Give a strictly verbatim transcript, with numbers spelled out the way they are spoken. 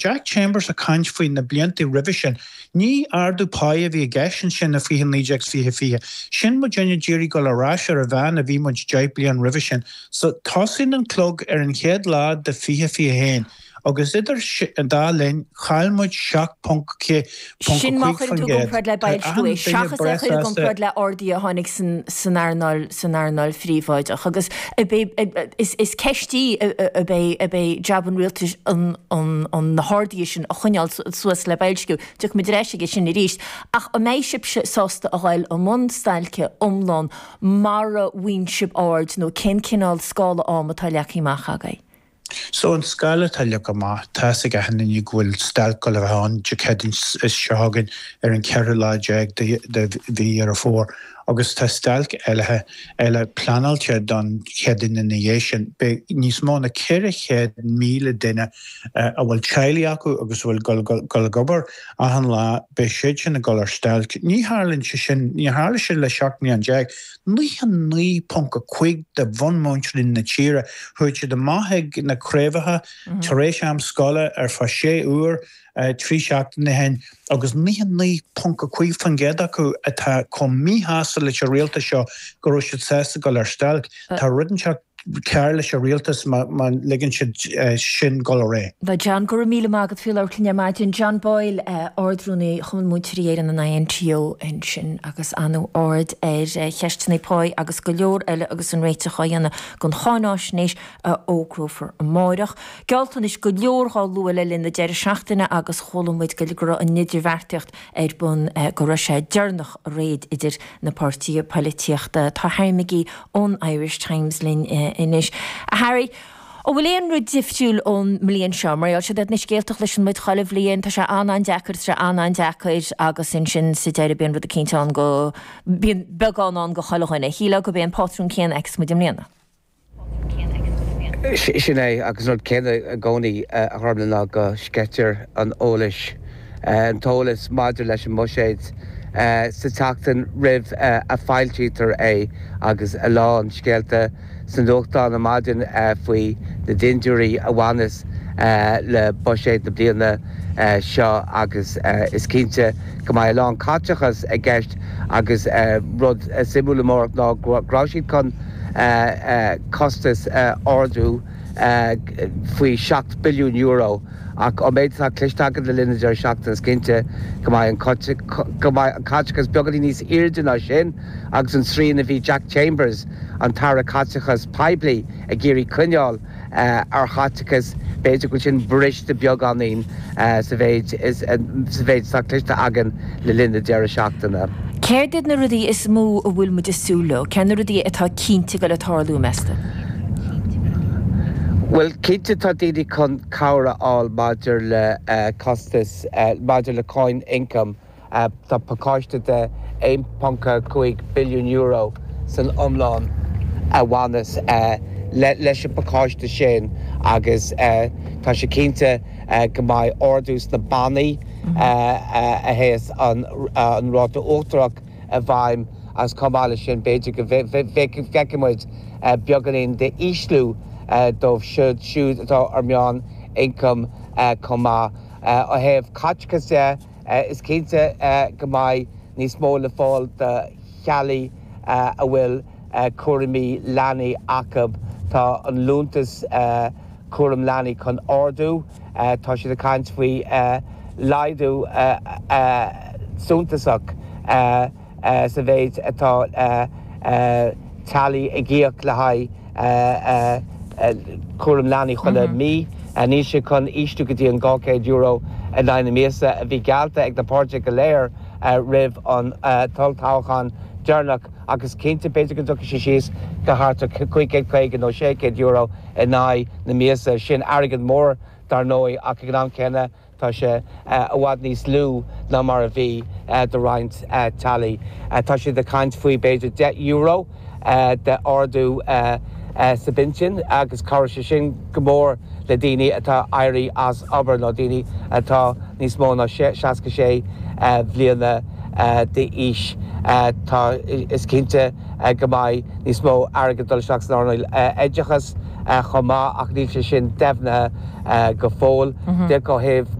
Jack Chambers ag caint faoi na blianta roimhe sin, ní ardú páí a bhí i gceist ansin i fiche naoi déag fiche fiche. Sin muidinne ag iarraidh dul ar ais ar an mheán a bhí muid deich bliain roimhe sin. So tosaíonn an clog ar an chéad lá de fiche fiche haon agus idir an dá linn chaill muid seacht ponc ponc Sin má cúig chuireann faoin tú i gcéad. gcomparáid le Tá boilsciú achan é, duine seachas é a chur i breá sásta. gcomparáid le arduithe a tháinig san san earnáil san earnáil phríobháideach agus is is ceist í ab é ab é jab an rialtais an an an na harduithe sin a choinneáil suas le boilsciú. Tiocfaimid ar ais aige sin arís. Ach an mbeidh sibhse sásta a ghoil i mbun stailce iomlán mara bhfaigheann sibh ard nó cén cineál scála ama atá leagtha amach agaibh? So an scála atá leagtha amach tá ag achan duine go bhfuil stailc le bheith ann Dé Céadaoin seo chugainn ar an ceathrú lá déag de mhí Dheireadh Fómhair agus tá stailc eile eile pleanáilte don Chéadaoin ina dhiaidh sin. Beidh níos mó ná ceithre chéad míle duine a bhfuil teaghlaigh acu agus a bhfuil gul ag obair achan lá, beidh siad sin ag dul ar stailc. Ní tharlaíonn sé sin, ní tharla sé le seacht mbliana déag. Naocha naoi ponc a cúig de bhunmhúinteoirí na tíre chuaigh siad amach ag na craobhacha tar éis am scoile ar feadh sé uair trí seachtaine ó shin agus naocha naoi ponc a cúig faoin gcéad acu atá chomh míshásta leis an rialtas seo go raibh siad sásta dul ar stailc. Tá rud inteacht cearr leis an rialtas má má ligeann siad sin dul ar aghaidh. Bhuel John, go raibh míle maith agat faoi labhairt linn ar maidin. John Boyle, Ard-Rúnaí Chumann Múinteoirí Éireann an INTO ansin agus an-aird ar cheisteanna páí agus go leor eile agus an réiteach á dhéanamh don cháinaisnéis a fhógrófar amárach. Gealltanais go leor á lua le linn na deireadh seachtaine agus chuala muid go raibh an idirbheartaíocht ar bun go raibh sé deireanach réidh idir na páirtithe polaitíochta. Tá Harry McGee ón Irish Times linn anois. Harry, An bhfuil aon rud difriúil ón mbliain seo, mar gheall siad na scéalta a chloiseann muid chuile bhliain, tá sé an-an-deacair, tá sé an-an-deacair agus ansin sa deireadh bíonn rud eicínt ann go bíonn beagán ann do chuile dhuine. Shílfeá gurb é an pátrún céanna a fheicfeas muid i mbliana. Sin é agus an rud céanna i gcónaí a tharlaíonn ná go sceitear an eolais an t-eolas maidir leis an mbuiséad sa tseachtain roimh a foilsítear é agus a lán scéalta sna nuachtáin ar maidin faoi na dindiúirí a bhaineas le buiséad na bliana seo agus is cinnte go mbeidh a lán caiteachas i gceist agus rud suimiúil amárach ná go raibh siad chun costas ardú faoi seacht billiún euro ach an méid atá cloiste againn le linn na deireadh seachtaine is cinnte go mbeidh an go mbeidh an caiteachas beagáinín níos airde ná sin agus an srian a bhí Jack Chambers an tAire Caiteachas Poiblí ag iarraidh coinneáil ar chaiteachas b'fhéidir go bhfuil sin briste beagáinín sa mhéid sa mhéid atá cloiste againn le linn na deireadh seachtaine. Céard iad na rudaí is mó a bhfuil muid ag súil leo, cé na rudaí atá cinnte go le tarlú meas tú? Well cinnte tá daoine chun cabhair a fháil maidir le costas maidir le cáin ioncaim tá pacáiste de aon ponc cúig billiún euro san iomlán a bhaineas leis an bpacáiste sin agus tá sé cinnte go mbeidh ardú sna bannaí a théas an ráta uachtarach i bhfeidhm agus chomh maith leis sin b'fhéidir go bhfeicfidh muid beagáinín de ísliú dóibh siúd siúd atá ar meán ioncam chomh maith. Ó thaobh caiteachas de is cinnte go mbeidh níos mó le fáil do theaghlaigh a bhfuil cúraimí leanaí acu. Tá an liúntas cúram leanaí chun ardú, tá siad ag caint faoi laghdú suntasach sa mhéid atá teaghlaigh ag íoc le haghaidh cúram leanaí chuile mí. Níl sé chun ísliú go dtí an dhá chéad euro in aghaidh na míosa a bhí geallta ag na páirtithe go léir roimh an tolltoghchán deireanach agus cinnte b'fhéidir go dtiocfaidh sé síos go thart ar cúig chéad caoga nó sé chéad euro in aghaidh na míosa. Sin airgead mór dar ndóigh ach ag an am céanna tá sé i bhfad níos lú ná mar a bhí do roinnt teaghlaigh. Tá siad ag caint faoi b'fhéidir deich euro de ardú sa bpinsean agus cabhróidh sé sin go mór le daoine atá éirí as obair nó daoine atá níos mó ná seasca sé bhliana d'aois. Tá is cinnte go mbeidh níos mó airgead dul isteach san earnáil oideachais chomh maith ach níl sé sin deimhnithe go fóill. De ó thaobh